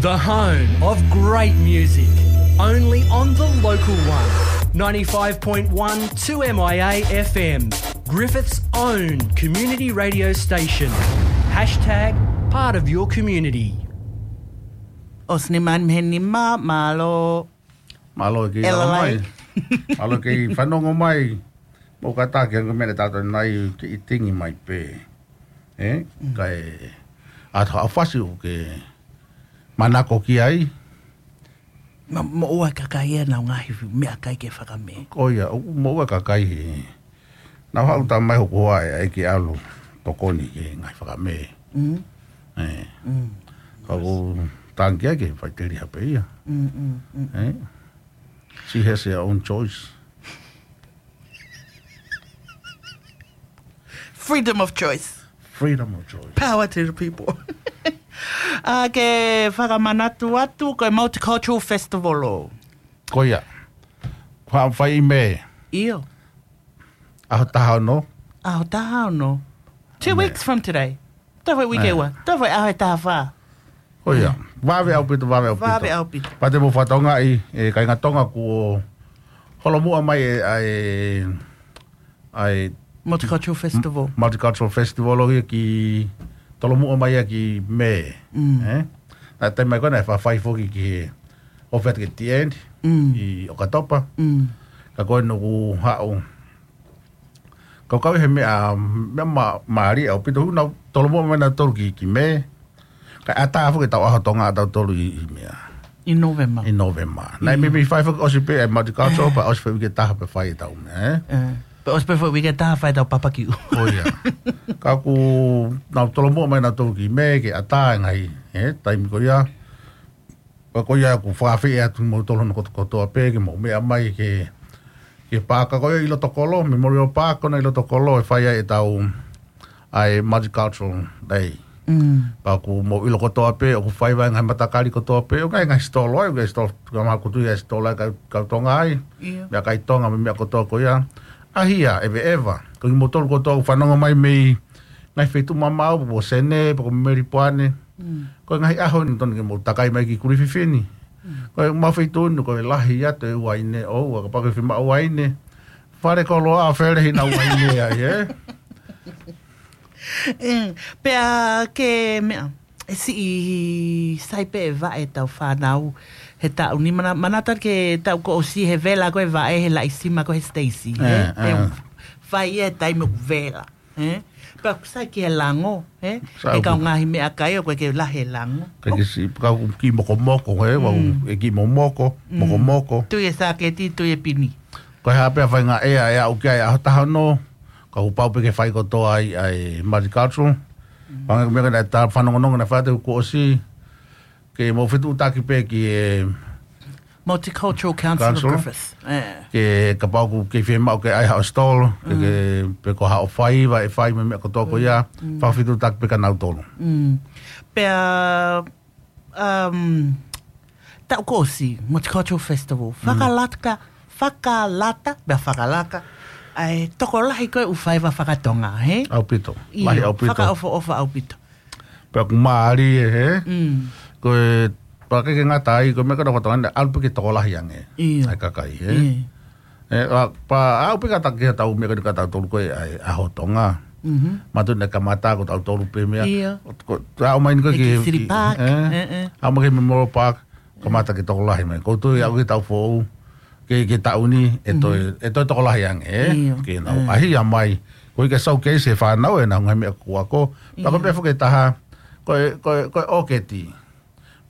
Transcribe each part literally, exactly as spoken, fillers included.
The home of great music, only on the local one. Ninety-five point one two M I A F M, Griffith's own community radio station. Hashtag part of your community. ʻOsi nima mei he nima, mālō. Mālō e kiʻi ʻElalai. Lau mai. Mālō e kiʻi fanongo mai. Mou kātaki ange mene tātou nai ke itingi mai pē. Ē? Mm. Kae ʻatā ʻa fasi ʻoku ke manako ki ai. Ma, moʻua e kakai ʻenau ngaahi meʻakai ke fakamē. Ko ia, ʻo, moʻua e kakai he. Nau haʻu tā mai hoku hoa ʻe ʻai ke ʻalu tokoni ke ngaahi fakamē. Mm. Ē. Mm. Ka ʻoku tangi ai ke faiteliha pē ia. Mm, mm, mm. Ē. She has her own choice. Freedom of choice. Freedom of choice. Power to the people. ʻA ke fakamanatu atu ko e Multicultural Festival ʻo. Ko ia. Kua fai ʻi Mē. ʻIo. ʻAho taha ono. ʻAho taha ono. Two Mē. Weeks from today. Toe foʻi uike ua. Toe foʻi ʻaho ʻe taha fā. Ko ia. Vave ʻaupito, vave ʻaupito. Vave ʻaupito. Pea te mou fakatokangaʻi, ē, kāinga Tonga kuo holomuʻa mai ʻe, ʻa e, ʻa e Multicultural Festival. Multicultural Festival ʻo ia ki, tolomuʻa mai ia ki Mē. Mm. Ē? Naʻe taimi mai ko ē naʻe fafai foki ki he ʻofa ki he T N Mm. ʻi ʻOkatopa. Mm. Ka ko eni ʻoku haʻu. Kau kau he meʻa, meʻa ma-, mālie ʻaupito, nau tolomuʻa mai nautolu ki, ki Mē. Kae ʻatā foki ʻetau ʻaho Tonga ʻatautolu ʻi, ʻi meʻa. ʻI Novema. ʻI Novema. Naʻe Mm. meimei fai foki ʻosi pē ʻa e Multicultural, pea ʻosi foʻi uike ʻe taha pea fai ʻetau meʻa, ē? Ē. Pea ʻosi pē foʻi uike ʻe taha fai ʻetau papakiu. Ko ia. Ka ʻoku nau tolomuʻa mai nautolu ki Mē, ke ʻatā e ngaahi, ē, taimi ko ia. Pea ko ia ʻoku fakaafeʻi atu kimoutolu hono kotokotoa pē ke mou meʻa mai ki he, ki he paaka ko ia ʻi loto kolo, Memorial Park ko ena ʻi loto kolo ʻe fai ai ʻetau, ʻa e Multicultural Day. Mm. Pea ʻoku mou ʻilo kotoa pē, ʻoku fai ai e ngaahi matakali kotoa pē, ʻoku ʻi ai e ngaahi sitolo ai, ʻoku ʻi ai e sitolo, ka maha kutu ʻi ai e sitolo ai, kau, kau Tonga ai, ʻIo. meʻakai Tonga, mo e meʻa kotoa ko ia. ʻAhia, ʻeveʻeva, ko kimoutolu kotoa ʻoku fanongo mai mei he ngaahi feituʻu mamaʻo, pe ko Senē, pe ko Melipoane, Mm. ko e ngaahi ʻaho ni tonu ke mou takai mai ki Kulififini. Mm. Ko e mau feituʻu ni, ko e lahi atu e uaine ʻoʻou, kapau ʻoku ke fiemaʻu uaine. Fale koloa, fele hina uaine ai, ē? Mm. Pea ke meʻa, ʻe siʻi sai pē e vaʻe ʻetau fānau he taʻu ni, mana-, manatu ke taʻu kuo ʻosi he vela ko e vaʻe he Laʻisima ko ē he Stacy, Ē, ē? ē. ʻE fai e taimi ʻoku vela. Ē? Pea ʻoku sai ki he lango, ē? Sai ʻOku kau ngaahi meʻakai ʻoku ʻikai ke lahi e lango. ʻIkai ke siʻi, ka ʻoku kiʻi mokomoko, ē? Vau, Mm. ʻe kiʻi momoko, Mm. mokomoko. Tui e sāketi, tui e pini. Ko e hā pē ha faʻahinga ʻea ʻe aʻu ki ai ʻaho taha ono, ka ʻoku pau pē ke fai kotoa ai ʻa e Multicultural. Mm. Pea ko e meʻa ko ē naʻe ta-, fanongonongo naʻe fai atu kuo ʻosi, ke mou fetuʻutaki pē ki he Multicultural Council of Council. Griffith. Ē. Ke kapau ʻoku ke fiemaʻu ke ʻai haʻo stall, ke, Mm. ke, pe ko haʻo faiva ʻe fai mo e meʻa kotoa ko ia, Mm. fakafetuʻutaki pē kia nautolu. Mm. Pea, um, taʻu kuo ʻosi, Multicultural Festival. Mm. Fakalaka, fakalata, pea fakalaka ʻa e tokolahi ko ē ʻū faiva faka-Tonga, hē? ʻAupito. ʻIo, lahi ʻaupito. Fakaʻofoʻofa ʻaupito. Pea ʻoku mālie, hē? Mm. Ko e, pea ʻikai ke ngata ai, ko e meʻa ko ē naʻa ku tokanga, ʻalu pē ke tokolahi ange. ʻIo. ʻA e kakai, hē? ʻIo. Ē, ʻa, pea aʻu pē kātaki ki heʻetau meʻa ko eni kia tautolu ko ē ʻa e ʻaho Tonga. Mhm. Mātuʻaki naʻe kamata ko tautolu pē meʻa. ʻIo. Ko, ko, aʻu mai ni ko ē He ki, ki City ki, Park. ē? Ē, ē. Aʻu mai ki Memorial Park, kamata ke tokolahi mai. Ko u tui aʻu ki he taʻu foʻou, ki he, ki he taʻu ni, ʻe toe, Mhm. ʻe toe tokolahi ange, ē? ʻIo. Ke nau ʻAhia mai. Ko e ke showcase e fānau ʻenau ngaahi meʻa kuo ako. Pea ko e ʻIo. meʻa foki ʻe taha, ko e, ko e, ko e ʻōketi.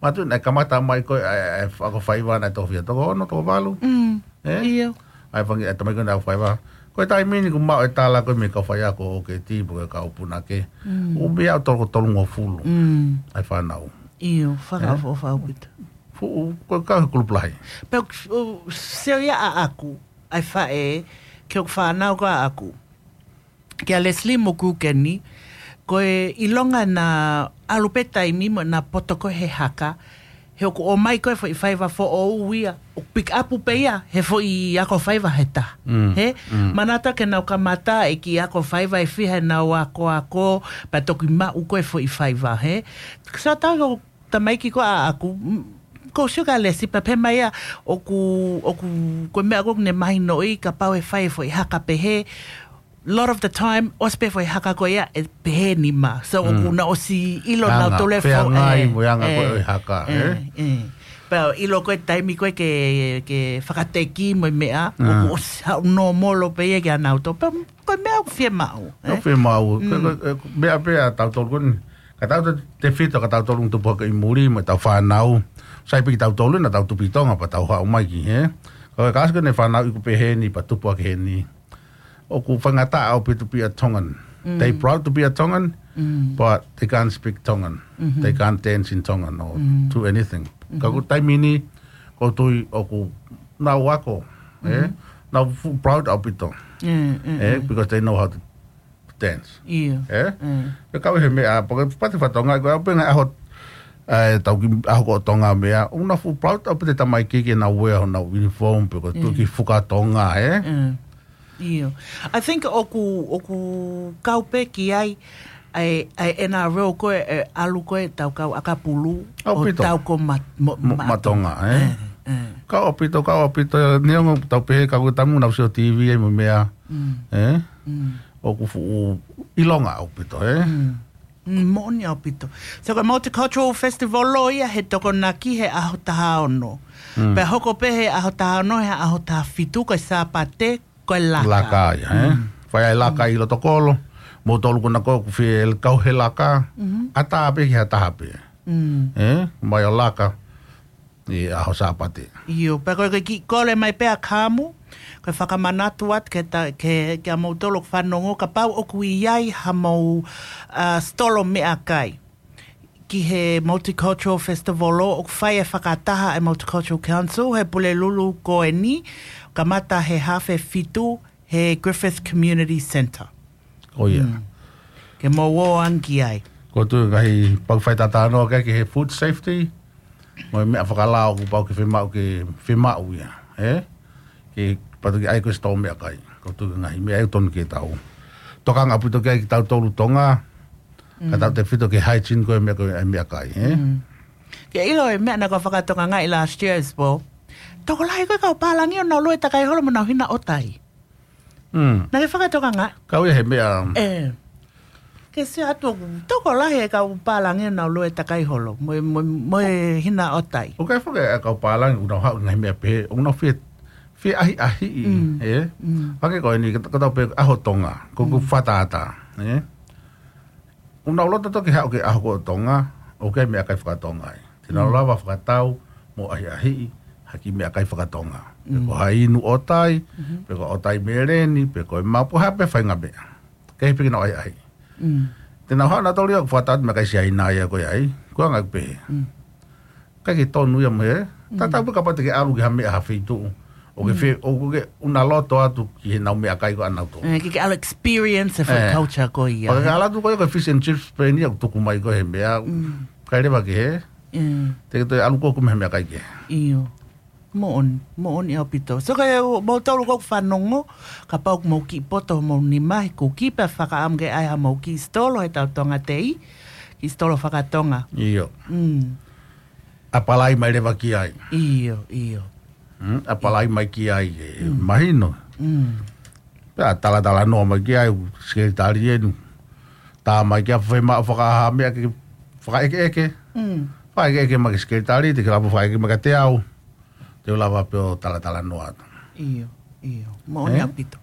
Mātuʻaki naʻe kamata mai ko ē, ʻa e, ʻa e ako faiva naʻe toko fiha, toko ono, toko valu. Mm. Ē? ʻIo. ʻA e fanga, ʻa e tamai ko ē naʻe ako faiva. Ko e taimi ni ʻoku maʻu e tala ko ē mei he kau faiako ʻōketi, pe ko e kau punake. Mm. ʻOku meimei aʻu toko tolungofulu. Mm. ʻA e fānau. ʻIo, fakaʻofoʻofa ʻaupito. Fuʻu, ko e kau he kulupu lahi. Pea ʻoku, ʻo, sio ia ʻaʻaku, ʻa e faʻē, ki hoku fānau ko ē ʻaʻaku. Kia Leslie mo Kukeni, ko e ʻilonga naʻa ʻalu pē taimi mo ʻena poto ko ē he haka, he ʻoku ʻomai ko ē foʻi faiva foʻou ia, ʻoku pick up pē ia, he foʻi ako faiva he taha. Mm, Hē? mm. Manatu ke nau kamata e kiʻi ako faiva ʻe fiha ʻenau akoako, pea toki maʻu ko ē foʻi faiva, hē? Sio atu ko tamaiki ko ē ʻaʻaku, mm, ko Sugar Lesi pea pehē mai ia, ʻoku, ʻoku, ko e meʻa ko ē ʻoku ne mahinoʻi, kapau ʻe fai e foʻi haka pehē, lot of the time, ʻosi pē foʻi haka ko ia, ʻe pehē nima. So, ʻoku na ʻosi ʻilo nautolu e fo-, feangai mo e anga ko ē ʻo e haka, ē? Pea ʻilo ko e taimi ko ē ke, ke fakateki mo e meʻa, ʻoku ʻosi haʻu nōmolo pē ia kia nautolu. Pea ko e meʻa ʻoku fiemaʻu, ē? ʻOku fiemaʻu. Ko e, ko e, ko e meʻa pē ʻa tautolu ko eni. Ka tautolu tefito, ka tautolu ʻoku tupu hake ʻi muli, mo ʻetau fānau. Sai pē kitautolu, naʻa tau tupu ʻi Tonga, pea tau haʻu mai ki hē. Ko e kāsika ne fānau ʻi ku pehē ni, pea tupu hake heni. ʻOku faingataʻa ʻaupito to be a Tongan. They proud to be a Tongan, but they can't speak Tongan. They can't dance in Tongan or do anything. Ka ko e taimi ni, ʻoku ou tui ʻoku nau ako, ē? Nau fuʻu proud ʻaupito. Ē? Because they know how to dance. ʻIo. Ē? Pea kau he meʻa, pea ko e pati fakatonga, ko e ʻaho pē ngaahi ʻaho, ē, tau ki ʻaho ko Tonga meʻa, ʻoku nau fuʻu proud ʻaupito e tamaiki ke nau wear honau uniform, pe ko e tuʻu ki fuka Tonga, ē? ʻIo. I think ʻoku, ʻoku kau pē ki ai, ʻa e, ʻa e N R L ko ē, ʻe ʻalu ko ē ʻetau kau ʻakapulu, ʻo ʻaupito. Tau ko ma-, mo-, mo-, ma-, ma Tonga, ē? Ē, ē. Kau ʻaupito, kau ʻaupito, neongo tau pehē, ka ko e taimi naʻa ku sio T V ai mo e meʻa, ē? ʻOku fuʻu ʻilonga ʻaupito, ē? Mm, moʻoni ʻaupito. So ko e Multicultural Festival ʻo ia he Tokonaki he ʻaho taha ono. Pea hoko pē he ʻaho taha ono, he ʻaho taha fitu, ko e Sāpate, ko e laka. Laka ia, ē? Fai ai laka ʻi loto kolo, moutolu ko ena ʻoku fie kau he laka, ʻatā pē ki ha taha pē. Ē? Mai ʻo laka ʻi he ʻaho Sāpate. ʻIo, pea ko e kiʻi kole mai pē ʻa Kamu, ko e fakamanatu atu ke ta-, ke, ke ʻa moutolu ʻoku fanongo kapau ʻoku ʻi ai hamou, ā, sitolo meʻakai ki he Multicultural Festival ʻoku fai e fakataha ʻa e Multicultural Council he Pulelulu ko eni, kamata he haafe fitu he Griffith Community Centre. ʻO ia. Ke mou ō ange ki ai. ʻOku ou tui ngaahi pau fai tatano ke ki he food safety, mo e meʻa fakalao ʻoku pau ke fiemaʻu ke fiemaʻu ia, ē? Ke patu ki ai ko e sitolo meʻakai. ʻOku ou tui ngaahi meʻa ʻoku totonu ke tau tokanga ʻaupito ki ai kitautolu Tonga, ka tau tefito ki he hygiene ko e meʻa ko e meʻakai, ē? Ke ʻilo e meʻa naʻa ku fakatokangaʻi last year as well. Tokolahi ko e kau pālangi ʻoku nau lue takai holo mo nau hina ʻotai. Naʻa ke fakatokangaʻi. Kau ia he meʻa. Ē. Ke sio atu ʻoku tokolahi e kau pālangi ʻoku nau lue takai holo mo, mo, mo e hina ʻotai. ʻOku ʻi ai foki e kau pālangi ʻoku nau haʻu ngaahi meʻa pehē, ʻoku nau fie, fie ʻahiʻahiʻi, ē? Hangē ko eni, ka, ka tau pehē ʻaho Tonga, ko, ko fakatātā, ē? ʻOku nau loto toki haʻu ki he ʻaho ko Tonga, ʻoku ʻi ai e meʻakai fakatonga ai. Te nau lava fakatau mo ʻahiʻahiʻi ha kiʻi meʻakai fakatonga. Pe ko ha inu ʻotai, pe ko e ʻotai meleni, pe ko e mapu, ha pē faʻahinga meʻa. Kei piki nau ʻahiʻahiʻi. Te nau haʻu nautolu ia ʻo fakatau atu meʻakai Siaina ia ko ia ai. Ko e anga ʻoku pehē. ʻIkai ke tonu ia mo e, tatau pē kapau te ke ʻalu ki ha meʻa ha feituʻu. ʻOku ke fie, ʻoku ke ʻuna loto atu ki heʻenau meʻakai ko ē ʻanautolu. Ē, ke, ke ʻalu experience e food culture ko ia. Pea ke ʻalu atu ko ia ko e fish and chips pē eni ia ʻoku tuku mai ko ē he meʻa. ʻIkai leva ke hē. Te ke toe ʻalu ko ē ʻo kumi ha meʻakai kehe. ʻIo. Moʻoni, moʻoni ʻaupito. So ko e moutolu ʻoku fanongo, kapau ʻoku mou kiʻi poto homou nima he kuki pea fakaʻamu ke ʻai hamou kiʻi sitolo he tau Tonga Tei, kiʻi sitolo fakatonga. ʻIo. ʻApalai mai leva ki ai. ʻIo, ʻio. ʻApalai mai ki ai, ʻe mahino. Pea talatalanoa mai ki ai, sekelitali eni. Tā mai ki ai, fiemaʻu fakahā meʻa ke fakaʻekeʻeke. Fakaʻekeʻeke mai ki sekelitali, te ke lava fakaʻekeʻeke mai kiate au. Te u lava pē ʻo talatalanoa atu. ʻIo, ʻio. Moʻoni ʻaupito.